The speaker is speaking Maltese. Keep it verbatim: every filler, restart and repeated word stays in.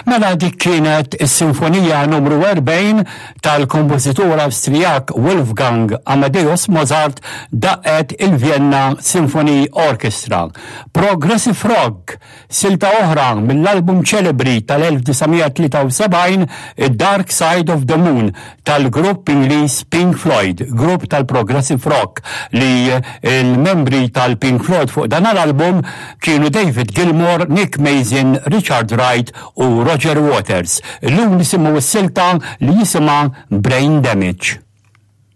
Mela dik kienet is-Sinfonija numru erbgħin tal-kompożitur Awstrijak Wolfgang Amadeus Mozart daqqet il-Vienna Symphony Orchestra. Progressive Rock, silta oħra mill-album ċelebri tal-elf disa' mija tlieta u sebgħin Dark Side of the Moon tal-grupp Ingliż Pink Floyd, grupp tal-Progressive Rock li il-membri tal-Pink Floyd fuq dan l-album kienu David Gilmour, Nick Mason, Richard Wright u Roger Waters. Illum nisimgħu s-silta li jisimha Brain Damage.